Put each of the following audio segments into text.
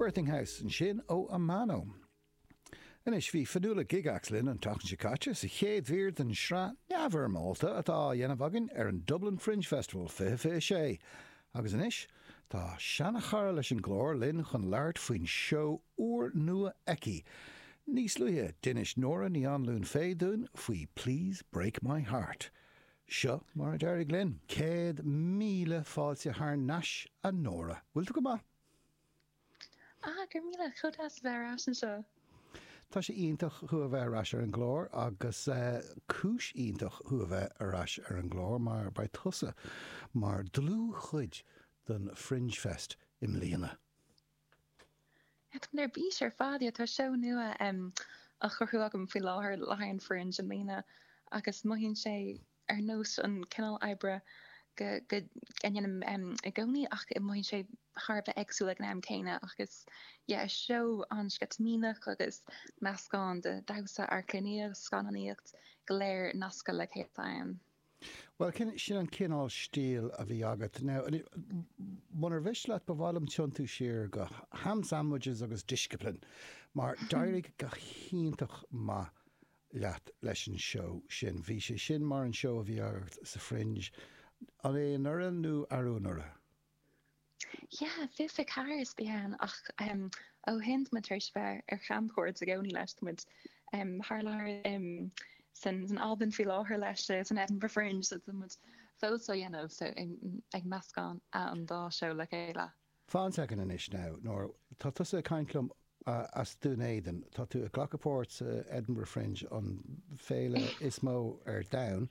Birthing House ansin ó Amano. Anois, bhí Fionnuala Gygax linn an tseachtain seo caite sa chéad mhír den sraith neamhfhoirmeálta atá á dhéanamh againn ar an Dublin Fringe Festival 2026. Agus anois, tá seana-chara leis an gclár linn chun labhairt faoin seó úrnua aici. Níos luaithe, d'inis Nóra Ní Anluain Fay dúinn faoi Please Break My Heart. Seo mar a d'éirigh linn. 100,000 fáilte thar n-ais, a Nóra. Bhfuil tú go maith? Ah, go raibh míle, chomh deas a bheith ar ais anseo. Tá sé iontach thú a bheith ar ais ar an gclár agus cúis iontach thú a bheith ar ais ar an gclár mar beidh tusa mar dlúthchuid den Fringe Fest i mbliana. Yeah, tá mé ar bís ar fad, yeah, tá seó nua á chruthú agam faoi láthair le haghaidh an Fringe i mbliana agus mothaíonn sé ar nós an cineál oibre go go ndéanaim i gcónaí ach mothaíonn sé thar a bheith éagsúil ag an am céanna agus yeah is seó an-sceitimíneach agus meascán de dhamhsa, amharclannaíocht, scannánaíocht go léir nasctha le chéile atá ann. Bhuel, sin an cineál stíl a bhí agat. Now, munar mhiste leat, ba mhaith liom tiontú siar go Ham Sandwiches agus Discipline, mar d'éirigh go hiontach maith leat leis an seó sin. Bhí sé sin mar an seó a bhí agat sa Fringe. An é anuraidh nó arú anuraidh? Yeah, 24 is bhí ann ach ó shin tá muid tar éis bheith ar chamchuairt i gcónaí leis. Tá muid thar lear san Albain faoi láthair leis san Edinburgh Fringe so tá muid fós á dhéanamh so ag meascán an dá seó le chéile. Fan soicind anois now, Nóra, tá tusa ag caint liom as Dún Éideann, tá tú ag glacadh páirt sa Edinburgh Fringe, an féile is mó ar domhan,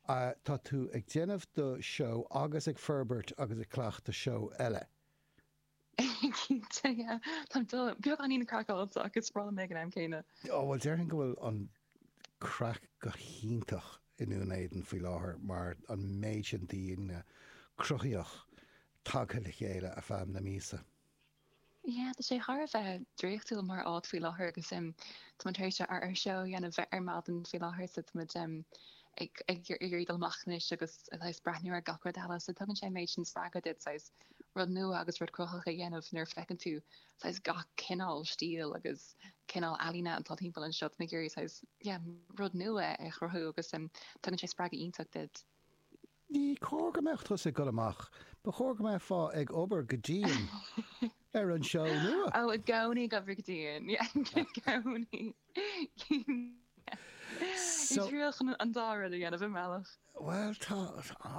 tá tú ag déanamh do seó agus ag forbairt agus ag cleachtadh seó eile. Cinnte, yeah. Táim beagáinín craiceáilte ach is breá liom é ag an am céanna. Ó, bhuel déarfainn go bhfuil an craic go hiontach i nDún Éideann faoi láthair mar an méid sin daoine cruthaíoch tagtha le chéile ar feadh na míosa. Yeah, tá sé thar a bheith draíochtúil mar áit faoi láthair agus tá muid tar éis ár seó a dhéanamh ar maidin faoi láthair so tá muid ag ag iarraidh dul amach anois agus saghas breathnú ar gach rud eile so tugann sé an méid sin spreagadh duit saghas rud nua agus rud cruthaitheach a dhéanamh nuair a feiceann tú saghas gach cineál stíl agus cineál ealaíne atá timpeall anseo tá mé ag iarraidh saghas yeah rud nua a chruthú agus tugann sé spreagadh iontach duit. Ní cóir go mbeadh tusa ag dul amach. Ba chóir go mbeifeá ag obair go dian ar an seó nua. Ó, i gcónaí ag obair go dian. Yeah, i gcónaí. So. Ag triail chun an dá rud a dhéanamh i mbealach. Bhuel, tá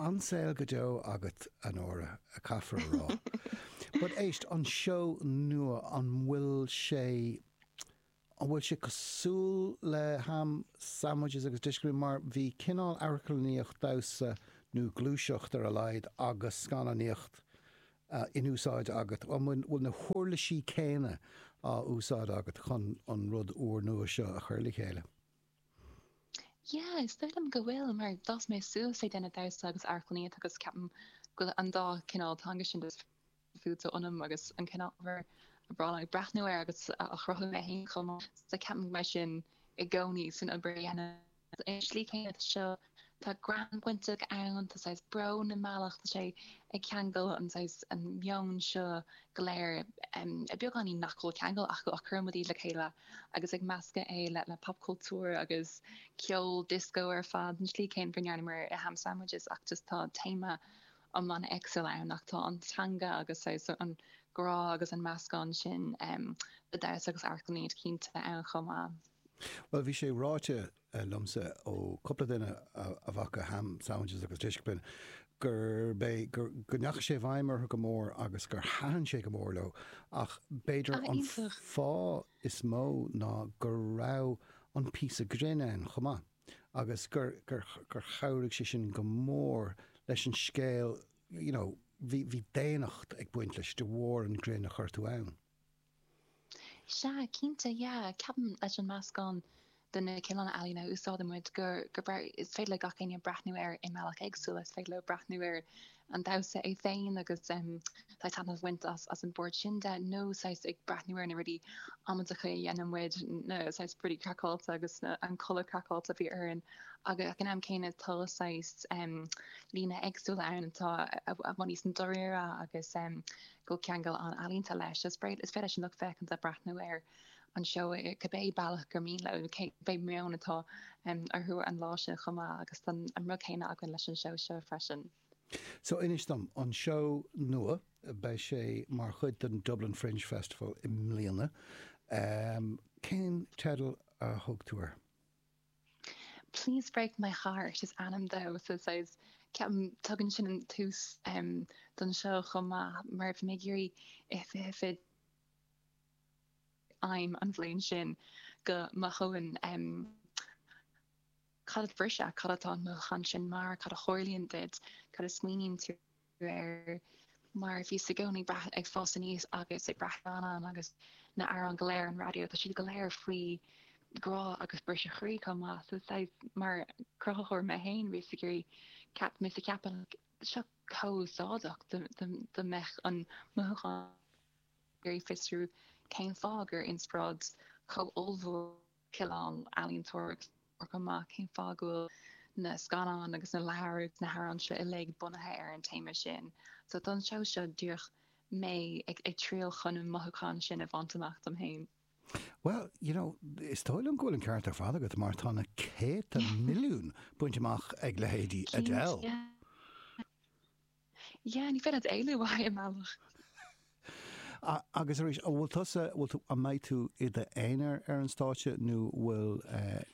an-saol go deo agat, a Nóra, caithfear a rá. But éist, an seó nua, an bhfuil sé An bhfuil sé cosúil le Ham Sandwiches agus Discipline mar bhí cineál amharclannaíocht, damhsa nó gluaiseacht ar a laghad agus scannánaíocht in úsáid agat. An bhfuil na huirlisí céanna á úsáid agat chun an rud úrnua seo a chur le chéile? Yeah, is dóigh liom go bhfuil mar d'fhás mé suas ag déanamh damhsa agus amharclannaíocht agus ceapaim go bhfuil an dá chineál teanga sin fuaite ionam agus an cineál ábhair ba bhreá liom breathnú air agus a chruthú mé féin chomh maith. So ceapaim go mbeidh sin i gcónaí san obair a dhéanaim. Ar an slí céanna seo, tá greann bainteach ann, tá saghas brón i mbealach, tá sé ag ceangal an saghas an meon seo go léir, beagáinín nach bhfuil ceangal acu ach cuireann muid iad le chéile agus ag meascadh é le le popchultúr agus ceol disco ar fad, an slí céanna go ndearnamar i Ham Sandwiches ach just tá téama iomlán éagsúil ann ach tá an teanga agus saghas an grá agus an meascán sin de dhamhsa agus amharclannaíocht cinnte ann chomh maith. Bhuel, bhí sé ráite liomsa ó cúpla duine a bhfaca Ham Sandwiches agus Discipline gurb é, go ndeachaigh sé i bhfeidhm orthu go mór agus gur thaitin sé go mór leo ach b'fhéidir an fáth is mó ná go raibh an píosa grinn ann chomh maith. agus gur, gur, gur chabhraigh sé sin go mór leis an scéal, you know, bhí, bhí daonnacht ag baint leis de bharr an grinn a chuir tú ann. Sea, cinnte, yeah. Ceapaim leis an meascán de na cineálacha ealaíne a úsáideann muid gur, gur, is féidir le gach éinne breathnú air i mbealach éagsúil. Is féidir leo breathnú ar an damhsa é féin agus saghas taitneamh a bhaint as an bpáirt sin de nó saghas ag breathnú ar na rudaí amaideacha a dhéanann muid, na saghas rudaí craiceáilte agus an culaith craiceáilte a bhí orainn agus ag an am céanna tá saghas líne éagsúla ann atá i bhfad níos dáiríre agus go bhfuil ceangal an-ealaíonta leis. Is féidir leis an lucht féachanta breathnú ar an seó i cibé bealach gur mian leo, cibé meon atá orthu an lá sin chomh maith agus tá an rud céanna againn leis an seó seo freisin. So inis dom, an seó nua, beidh sé mar chuid den Dublin Fringe Festival i mbliana, cén teideal a thug tú air? Please Break My Heart is ainm dó so saghas ceapaim tugann sin an tús don seó chomh maith mar bhí mé ag iarraidh i 20 aidhm an bhliain sin go mothóinn cad a bhriseadh, cad atá an mothúchán sin mar, cad a tharlaíonn duit, cad a smaoiníonn tú air, mar bhíos i gcónaí ag fás aníos agus ag breathnú ar agus na hamhráin go léir ar an raidió, tá siad go léir faoi grá agus briseadh chroí chomh maith, so saghas mar cruthaitheoir mé féin bhíos ag iarraidh, bhíos ag ceapadh seo chomh úsáideach dá mbeadh an mothúchán ag iarraidh fiosrú cén fáth gur inspioráid chomh ollmhór cineál ealaíontóireacht chomh maith, cén fáth go bhfuil na scannáin agus na leabhair agus na hamhráin seo uilig bunaithe ar an téama sin. So don seó seo díreach mé ag triail chun an mothúchán sin a bhaint amach dom féin. Bhuel, you know, is dóigh liom go bhfuil an ceart ar fad agat mar tá na céadta milliún bainte amach ag leithéidí Adele. Yeah, ní féidir leat éalú uaidh i mbealach. Agus arís, an bhfuil tusa, bhfuil tú, an mbeidh tú i d'aonar ar an stáitse nó bhfuil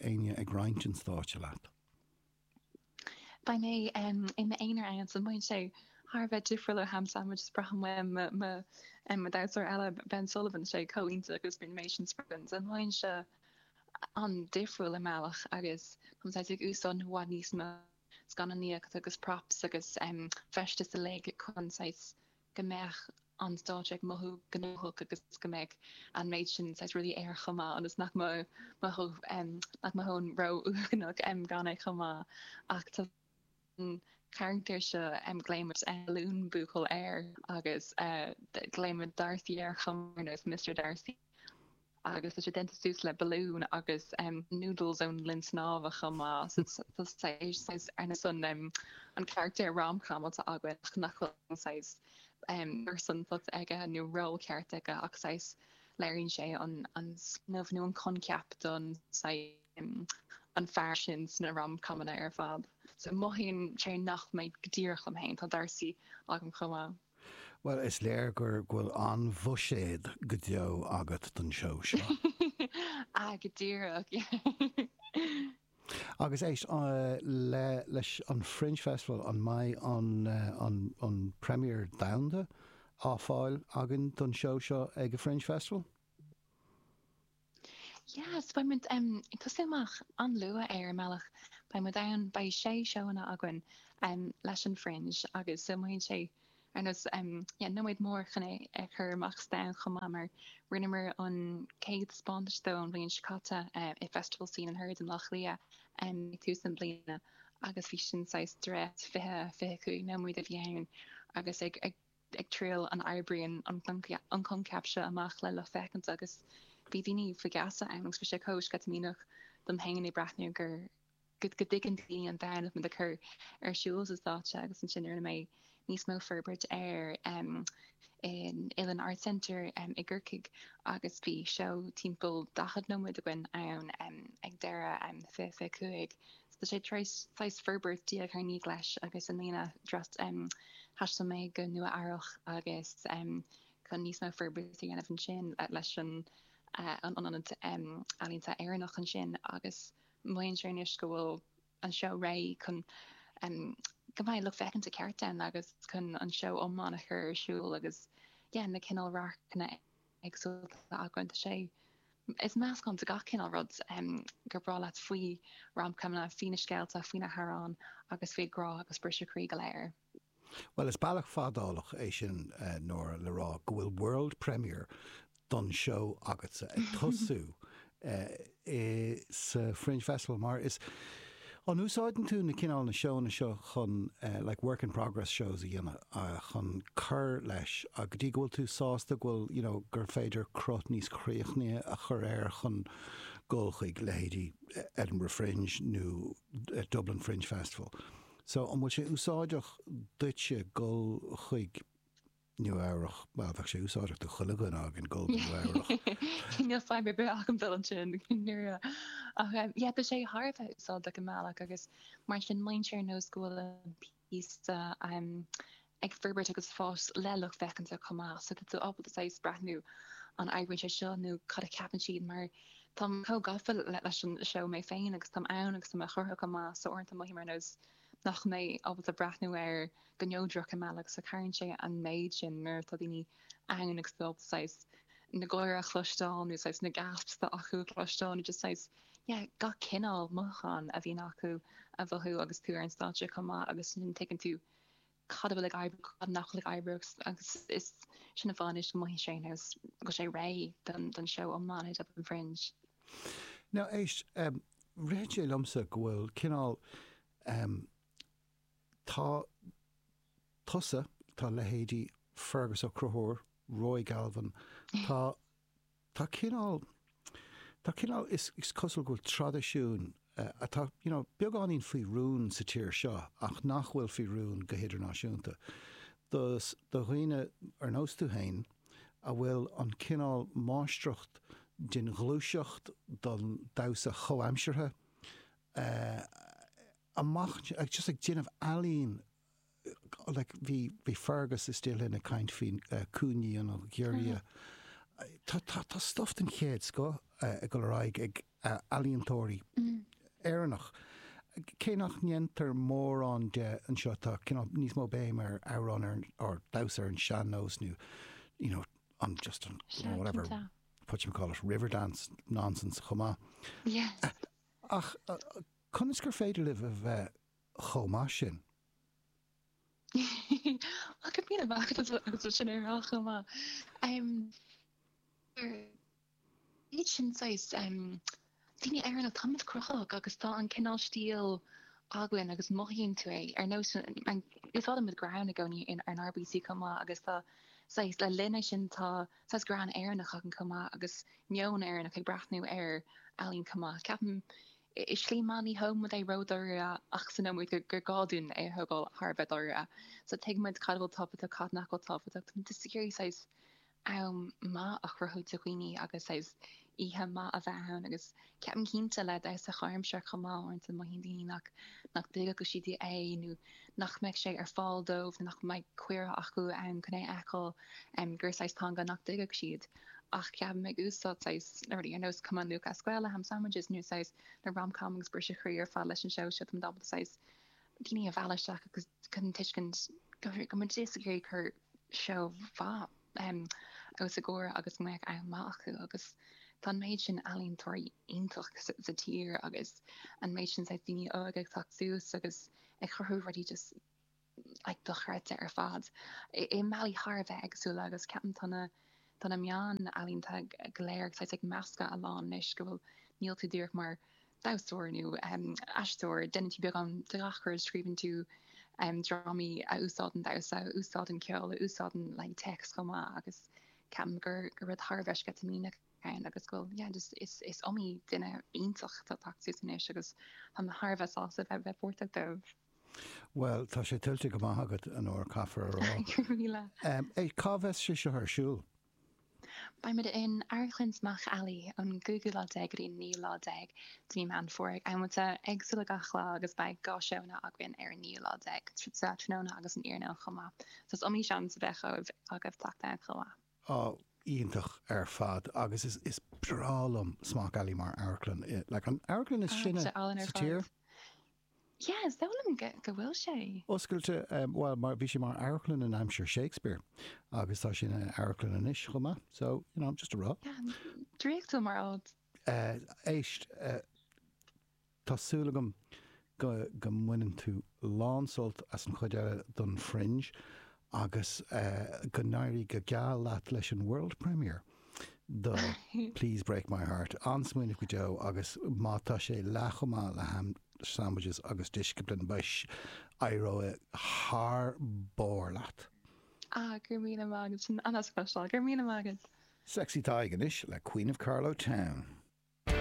éinne ag roinnt an stáitse leat? Beidh mé i m'aonar ann, so mothaíonn sé thar a bheith difriúil ó Ham Sandwich is braithim uaim mo dhamhsóir eile, Ben Sullivan, sé chomh iontach agus bíonn mé sin spreagann. So mothaíonn sé an-difriúil i mbealach agus táim saghas ag úsáid i bhfad níos mó scannánaíocht agus props agus feistis uilig chun saghas go mbeadh an stáitse ag mothú gnóthach agus go mbeadh an méid sin saghas rudaí air chomh maith ionas nach mothódh nach mothóinn ró-uaigneach gan é chomh maith. Ach tá an carachtar seo glaoimid balún buachaill air agus glaoimid Darcy air chomh maith ar nós Mr Darcy. agus tá sé déanta suas le balún agus noodles ón linn snámha chomh maith. So tá saghas ar nós an an carachtar rom-com atá againn ach nach bhfuil saghas pearsantacht aige nó ról ceart aige ach saghas léiríonn sé an an smaoineamh nó an coincheap don saghas an fear sin sna rom-comanna ar fad. So mothaíonn sé nach mé go díreach liom féin, tá Darcy agam chomh maith. Bhuel, is léir gur go bhfuil an-bhuiséad go deo agat don seó seo. Ah, go díreach. Agus éist, le leis an Fringe Festival, an mbeidh an an an premiere domhanda á fáil againn don seó seo ag an Fringe Festival? Yeah, so beidh muid ag tosú amach an-luath ar an mbealach. Beidh muid ann, beidh sé seóanna againn leis an Fringe agus so mothaíonn sé ar nós yeah, nóiméad mór chun é a chur amach sa domhan chomh maith mar rinneamar an chéad taispeántas dó an bhliain seo caite i Festival Scene and Heard i mBaile Átha Cliath ag tús na bliana agus bhí sin saghas dréacht 20, 25 nóiméad a bhí ann agus ag ag ag triail an oibríonn an coincheap seo amach le lucht féachana agus bhí daoine faoi gheasa ann agus bhí sé chomh sceitimíneach dom féin ag breathnú gur go dtuigeann daoine an domhan atá muid ag cur ar siúl sa stáitse agus ansin rinne mé níos mó forbairt air in Uillinn Arts Centre i gCorcaigh agus bhí seó timpeall 40 nóiméad againn ann ag deireadh 2025. So tá sé tar éis saghas forbairt diaidh ar ndiaidh leis agus i mbliana thaistil mé go Nua Eabhrach agus chun níos mó forbairt a dhéanamh ansin leis an Ionad Ealaíonta Éireannach ansin agus mothaíonn sé anois go bhfuil an seó réidh chun go mbeidh lucht féachana ceart ann agus chun an seó iomlán a chur ar siúl agus yeah na cineál radharcanna éagsúla atá againn. Tá sé, is meascán de gach cineál rud gur breá leat faoi romcomanna, faoi na scéalta, faoi na hamhráin agus faoi grá agus briseadh croí go léir. Bhuel, is bealach fadálach é sin, Nóra, le rá go bhfuil world premiere don seó agatsa ag tosú sa Fringe Festival mar is. An úsáideann tú na cineál na seónna seo chun like work in progress shows a dhéanamh chun cur leis go dtí go bhfuil tú sásta go bhfuil you know gur féidir cruth níos críochnaithe a chur air chun dul chuig leithéidí Edinburgh Fringe nó Dublin Fringe Festival. So an bhfuil sé úsáideach duitse dul chuig Nua Eabhrach, bhuel, bheadh sé úsáideach do chuile dhuine againn dul go Nua Eabhrach. Níl fadhb ar bith agam dul ansin, nuair a. Ach yeah, tá sé thar a bheith úsáideach i mbealach agus mar sin mothaíonn sé ar nós go bhfuil an píosa ag forbairt agus fás le lucht féachanta chomh maith. So tá tú ábalta saghas breathnú an oibríonn sé seo nó cad a cheapann siad mar táim chomh gafa leis an seó mé féin agus táim ann agus tá mé á chruthú chomh maith so uaireanta mothaím ar nós nach mbeidh mé ábalta breathnú air go neodrach i mbealach so cabhraíonn sé an méid sin nuair atá daoine ann agus tú ábalta saghas na gáire a chloisteáil nó saghas na gasps atá acu a chloisteáil nó just saghas yeah gach cineál mothúchán a bhíonn acu a mhothú agus tú ar an stáitse chomh maith agus ansin tuigeann tú cad a bhfuil ag oibriú cad nach bhfuil ag oibriú agus is sin an fáth anois go mothaíonn sé nós go bhfuil sé réidh don don seó iomlán i Dublin Fringe. Now éist, ritheann sé liomsa go bhfuil cineál, tá tusa, tá leithéidí Fergus Ó Conchúir, Roy Galvin, tá, tá cineál, tá cineál, is cosúil go bhfuil traidisiún atá, you know, beagáinín faoi rún sa tír seo ach nach bhfuil faoi rún go hidirnáisiúnta. Do, do dhaoine ar nós tú féin, a bhfuil an cineál máistreacht den ghluaiseacht don damhsa chomhaimseartha amach just ag déanamh ealaín like bhí bhí Fergus istigh linn ag caint faoi cúinní an ghiorria. Tá tá tá stuff den chéad scoth ag dul ar aghaidh ag ealaíontóirí Éireannach. Cé nach ndéantar mórán de anseo, tá cineál níos mó béim ar amhráin ar or damhsa ar an sean-nós nó you know an just an whatever what you call it Riverdance nonsense chomh maith. Yeah. Ach conas gur féidir libh a bheith chomh maith sin? Well, go míle maith agat as sin a rá chomh maith. Iad sin saghas daoine Éireannach, táimid cruthaitheach agus tá an cineál stíl againn agus mothaíonn tú é ar nós, úsáidimid greann i gcónaí inár bpíosaí chomh maith agus tá saghas, le linn é sin tá saghas greann Éireannach againn chomh maith agus meon Éireannach ag breathnú ar ealaín chomh maith. Ceapaim i slí maith ní thógann muid é ródháiríre ach sa nóiméad gur gá dúinn é a thógáil thar a bheith dáiríre. So tuigeann muid cad a bhfuil tábhachtach, cad nach bhfuil tábhachtach, táimid just ag iarraidh saghas am maith a chruthú do dhaoine agus saghas oíche maith a bheith ann agus ceapaim cinnte le damhsa comhaimseartha chomh maith uaireanta mothaíonn daoine nach nach dtuigfeadh siad é nó nach mbeadh sé ar fáil dóibh nó nach mbeidh cuireadh acu ann chun é a fheiceáil gur saghas teanga nach dtuigfeadh siad ach ceapaim ag úsáid saghas na rudaí ar nós Cumann Lúthchleas Gael le Ham Sandwiches nó saghas na rom-com agus briseadh croí ar fad leis an seó seo táimid ábalta saghas daoine a mhealladh isteach agus chun tuiscint go bhfuil muid just ag iarraidh cur seó mhaith os a gcomhair agus go mbeadh am maith acu agus tá an méid sin ealaíontóirí iontach sa tír agus an méid sin saghas daoine óga ag teacht suas agus ag cruthú rudaí just like dochreidte ar fad i mbealaí thar a bheith éagsúla agus ceapaim tá na tá na meáin ealaíonta go léir saghas ag meascadh a lán anois go bhfuil níl tú díreach mar damhsóir nó aisteoir, déanann tú beagán de gach rud, scríobhann tú drámaí a úsáideann damhsa, a úsáideann ceol, a úsáideann like téacs chomh maith agus ceapaim gur gur rud thar a bheith sceitimíneach ann agus go bhfuil yeah just is is iomaí duine iontach atá ag teacht suas anois agus tá mé thar a bheith sásta bheith bheith páirteach dóibh. Bhuel, tá sé tuillte go maith agat, a Nóra, caithfear a rá. Go raibh míle. Cá bheas sé seo ar siúl? Beimid in Amharclann Smock Alley ón gcúigiú lá déag go dtí an naoú lá déag de mhí Meán Fómhair ag amanta éagsúla gach lá agus beidh 2 seónna againn ar an naoú lá déag, sa tráthnóna agus san iarnóin chomh maith. So is iomaí seans a bheidh agaibh teacht ann chomh maith. Á, iontach ar fad agus is breá liom Smock Alley mar amharclann. Like an amharclann is sine sa tír. Yeah, is dóigh liom go bhfuil sé. Oscailte, bhuel, mar, bhí sé mar amharclann in aimsir Shakespeare agus tá sé ina amharclann anois chomh maith, so, you know, just a rá. Yeah, draíochtúil mar áit. Éist, tá súil agam go, go mbaineann tú lán-sult as an chuid eile don Fringe agus go n-éirí go geal leat leis an World Premiere do Please Break My Heart. An-smaoineamh go deo agus má tá sé leath chomh maith le ham. Sandwiches agus Discipline, beidh, éireoidh thar barr leat. Ah, go raibh míle maith agat, sin an-deas a chloisteáil, go raibh míle maith agat. Sexy Tadhg anois le Queen of Carlow Town.